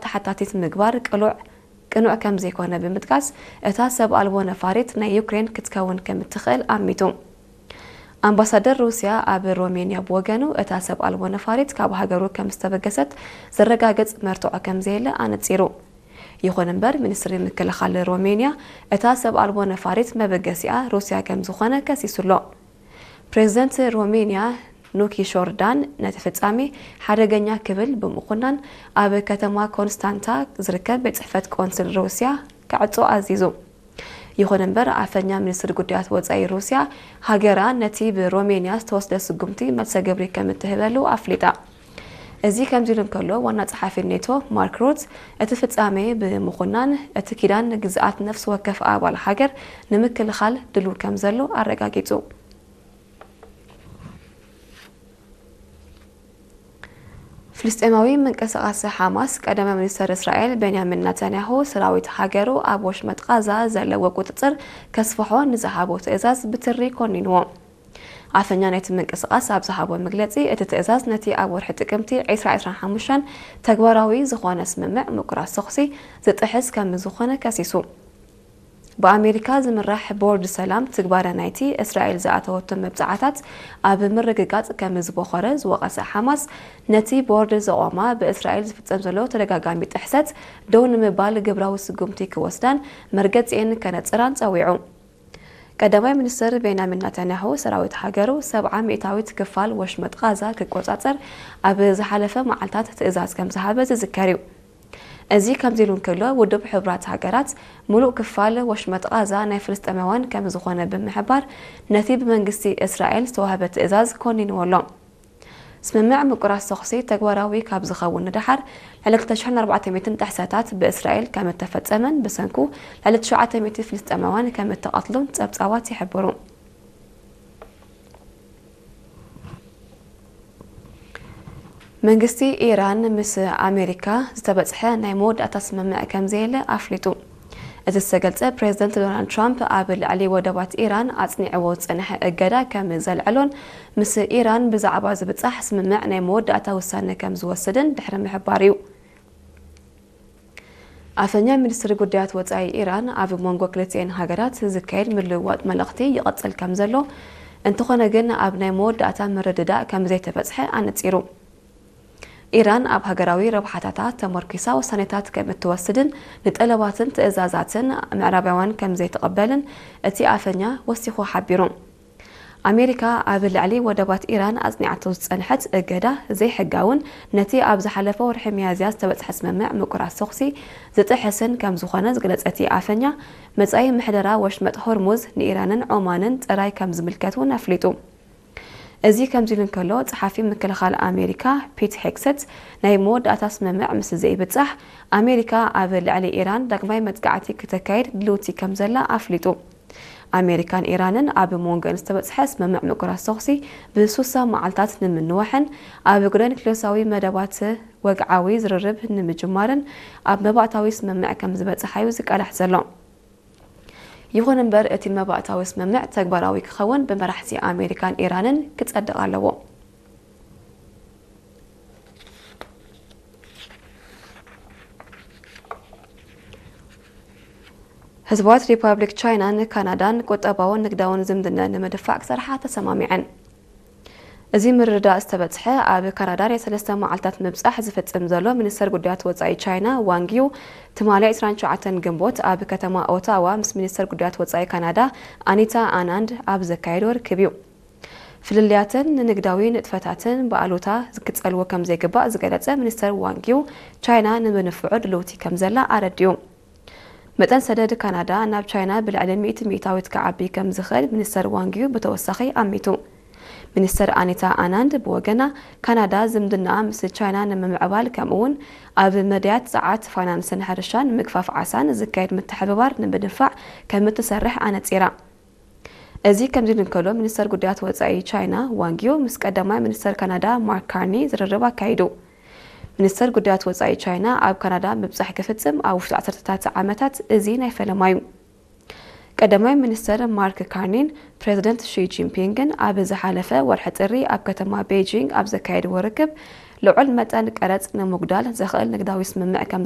ተሓታቲት ምግባር ቅሉዕ ቅኑዕ ከም ዘይኮነ ብምጥቃስ፣ እታ ሰብ ኣልቦ ነፋሪት ናይ ዩክሬን ክትከውን ከም እትኽእል ኣሚቱ። ኣምባሳደር ሩስያ ኣብ ሮሜንያ ብወገኑ፣ እታ ሰብ ኣልቦ ነፋሪት ካብ ሃገሩ ከም ዝተበገሰት ዘረጋግጽ መርትዖ ከም ዘየለ ኣነጺሩ። ይኹን እምበር፣ ሚኒስትሪ ምክልኻል ሮሜንያ፣ እታ ሰብ ኣልቦ ነፋሪት መበገሲኣ ሩስያ ከም ዝኾነ ከሲሱ ኣሎ። ፕሬዚደንት ሮሜንያ ኑኪ ሾርዳን ነቲ ፍጻሜ ሓደገኛ ክብል ብምኹናን፣ ኣብ ከተማ ኮንስታንታ ዝርከብ ቤት ጽሕፈት ቆንስል ሩስያ ክዕጾ ኣዚዙ። ይኹን እምበር፣ ኣፈኛ ሚኒስትሪ ጉዳያት ወጻኢ ሩስያ፣ ሃገራ ነቲ ብሮሜንያ ዝተወስደ ስጉምቲ መልሰ ግብሪ ከም እትህበሉ ኣፍሊጣ። እዚ ከምዚ ኢሉ እንከሎ፣ ዋና ጸሓፊ ኔቶ ማርክ ሩት፣ እቲ ፍጻሜ ብምኹናን፣ እቲ ኪዳን ንግዝኣት ነፍሲ ወከፍ ኣባል ሃገር ንምክልኻል ድሉው ከም ዘሎ ኣረጋጊጹ። ፍልስጤማዊ ምንቅስቓስ ሓማስ፣ ቀዳማይ ሚኒስተር እስራኤል ቤንያሚን ናታንያሁ፣ ሰራዊት ሃገሩ ኣብ ወሽመጥ ቓዛ ዘለዎ ቁጽጽር ከስፍሖ ንዝሃቦ ትእዛዝ ብትሪ ኮኒንዎ። ኣፈኛ ናይቲ ምንቅስቓስ ኣብ ዝሃቦ መግለጺ፣ እቲ ትእዛዝ ነቲ ኣብ ወርሒ ጥቅምቲ ዕስራ ዕስራን ሓሙሽተን ተግባራዊ ዝኾነ ስምምዕ ምቁራጽ ተኹሲ ዝጥሕስ ከም ዝኾነ ከሲሱ። ብኣሜሪካ ዝምራሕ ቦርድ ሰላም፣ ትግባረ ናይቲ እስራኤል ዝኣተወቶ መብጽዓታት ኣብ ምርግጋጽ ከም ዝበኾረ ዝወቐሰ ሓማስ፣ ነቲ ቦርድ ዘቖማ ብእስራኤል ዝፍጸም ዘሎ ተደጋጋሚ ጥሕሰት ደው ንምባል ግብራዊ ስጉምቲ ክወስዳን መርገጺኤን ከነጽራን ጸዊዑ። ቀዳማይ ሚኒስትር ቤንያሚን ናታንያሁ፣ ሰራዊት ሃገሩ ሰብዓ ሚእታዊት ክፋል ወሽመጥ ቓዛ ክቆጻጸር ኣብ ዝሓለፈ መዓልታት ትእዛዝ ከም ዝሃበ ዝዝከር እዩ። እዚ ከምዚ ኢሉ እንከሎ፣ ውድብ ሕቡራት ሃገራት፣ ምሉእ ክፋል ወሽመጥ ቓዛ ናይ ፍልስጤማውያን ከም ዝኾነ ብምሕባር፣ ነቲ ብመንግስቲ እስራኤል ዝተዋህበ ትእዛዝ ኮኒንዎ ኣሎ። ስምምዕ ምቁራጽ ተኹሲ ተግባራዊ ካብ ዝኸውን ንደሓር፣ ልዕሊ ክልተ ሽሕን ኣርባዕተ ሚእትን ጥሕሰታት ብእስራኤል ከም እተፈጸመን፣ ብሰንኩ ልዕሊ ትሽዓተ ሚእቲ ፍልስጤማውያን ከም እተቐትሉን ጸብጻባት ይሕብሩ። መንግስቲ ኢራን ምስ ኣሜሪካ ዝተበጽሐ ናይ መወዳእታ ስምምዕ ከም ዘየለ ኣፍሊጡ። እቲ ዝተገልጸ፣ ፕሬዚደንት ዶናልድ ትራምፕ ኣብ ልዕሊ ወደባት ኢራን ኣጽኒዕዎ ዝጸንሐ እገዳ ከም ዘልዕሎን፣ ምስ ኢራን ብዛዕባ ዝብጻሕ ስምምዕ ናይ መወዳእታ ውሳነ ከም ዝወስድን ድሕሪ ምሕባር እዩ። ኣፈኛ ሚኒስትሪ ጉዳያት ወጻኢ ኢራን፣ ኣብ መንጎ ክልቲኤን ሃገራት ዝካየድ ምልውዋጥ መልእኽቲ ይቕጽል ከም ዘሎ፣ እንተኾነ ግን ኣብ ናይ መወዳእታ ምርድዳእ ከም ዘይተበጽሐ ኣነጺሩ። ኢራን ኣብ ሃገራዊ ረብሓታታ ተመርኲሳ ውሳኔታት ከም እትወስድን ንጠለባትን ትእዛዛትን ምዕራባውያን ከም ዘይትቕበልን እቲ ኣፈኛ ወሲኹ ሓቢሩ። ኣሜሪካ ኣብ ልዕሊ ወደባት ኢራን ኣጽኒዓቶ ዝጸንሐት እገዳ ዘይሕጋውን ነቲ ኣብ ዝሓለፈ ወርሒ ሚያዝያ ዝተበጽሐ ስምምዕ ምቁራጽ ተኹሲ ዝጥሕስን ከም ዝኾነ ዝገለጸ እቲ ኣፈኛ፣ መጻኢ ምሕደራ ወሽመጥ ሆርሙዝ ንኢራንን ዖማንን ጥራይ ከም ዝምልከት እውን ኣፍሊጡ። እዚ ከምዚ ኢሉ እንከሎ፣ ጸሓፊ ምክልኻል ኣሜሪካ ፒት ሄግሰት፣ ናይ መወዳእታ ስምምዕ ምስ ዘይብጻሕ፣ ኣሜሪካ ኣብ ልዕሊ ኢራን ዳግማይ መጥቃዕቲ ክተካይድ ድልውቲ ከም ዘላ ኣፍሊጡ። ኣሜሪካን ኢራንን ኣብ መንጎን ዝተበጽሐ ስምምዕ ምቁራጽ ተኹሲ ብሱሳ መዓልታት ንምንዋሕን ኣብ ጉዳይ ኒክሌሳዊ መደባት ወግዓዊ ዝርርብ ንምጅማርን ኣብ መባእታዊ ስምምዕ ከም ዝበጽሓ እዩ ዝቃላሕ ዘሎ። ይኹን እምበር፣ እቲ መባእታዊ ስምምዕ ተግባራዊ ክኸውን ብመራሕቲ ኣሜሪካን ኢራንን ክጸድቕ ኣለዎ። ህዝባዊት ሪፓብሊክ ቻይናን ካናዳን ቁጠባውን ንግዳውን ዝምድና ንምድፋዕ ክሰርሓ ተሰማሚዐን። እዚ ምርድዳእ ዝተበጽሐ፣ ኣብ ካናዳ ናይ ሰለስተ መዓልታት ምብጻሕ ዝፍጽም ዘሎ ሚኒስተር ጉዳያት ወጻኢ ቻይና ዋንግ ዩ፣ ትማሊ ዕስራን ትሽዓተን ግንቦት ኣብ ከተማ ኦታዋ ምስ ሚኒስተር ጉዳያት ወጻኢ ካናዳ ኣኒታ ኣናንድ ኣብ ዘካየዶ ርክብ እዩ። ፍልልያትን ንንግዳዊ ንጥፈታትን ብኣሉታ ክጸልዎ ከም ዘይግባእ ዝገለጸ ሚኒስተር ዋንግ ዩ፣ ቻይና ንምንፍዑ ድልውቲ ከም ዘላ ኣረዲኡ። መጠን ሰደድ ካናዳ ናብ ቻይና ብልዕሊ ሚእቲ ሚእታዊት ክዓቢ ከም ዝኽእል ሚኒስተር ዋንግ ዩ ብተወሳኺ ኣሚቱ። ሚኒስተር ኣኒታ ኣናንድ ብወገና፣ ካናዳ ዝምድናኣ ምስ ቻይና ንምምዕባል፣ ከምኡውን ኣብ መዳያት ጸዓት፣ ፋይናንስን ሕርሻን፣ ምግፋፍ ዓሳን ዝካየድ ምትሕብባር ንምድንፋዕ ከም እትሰርሕ ኣነጺራ። እዚ ከምዚ ኢሉ እንከሎ፣ ሚኒስተር ጉዳያት ወጻኢ ቻይና ዋንግ ዩ ምስ ቀዳማይ ሚኒስተር ካናዳ ማርክ ካርኒ ዝርርብ ኣካይዱ። ሚኒስተር ጉዳያት ወጻኢ ቻይና ኣብ ካናዳ ምብጻሕ ክፍጽም ኣብ ውሽጢ ዓሰርተታት ዓመታት እዚ ናይ ፈለማ እዩ። ቀዳማይ ሚኒስተር ማርክ ካርኒን ፕሬዚደንት ሺ ጂንፒንግን ኣብ ዝሓለፈ ወርሒ ጥሪ ኣብ ከተማ ቤጂንግ ኣብ ዘካየድዎ ርክብ፣ ልዑል መጠን ቀረጽ ንምጉዳል ዘኽእል ንግዳዊ ስምምዕ ከም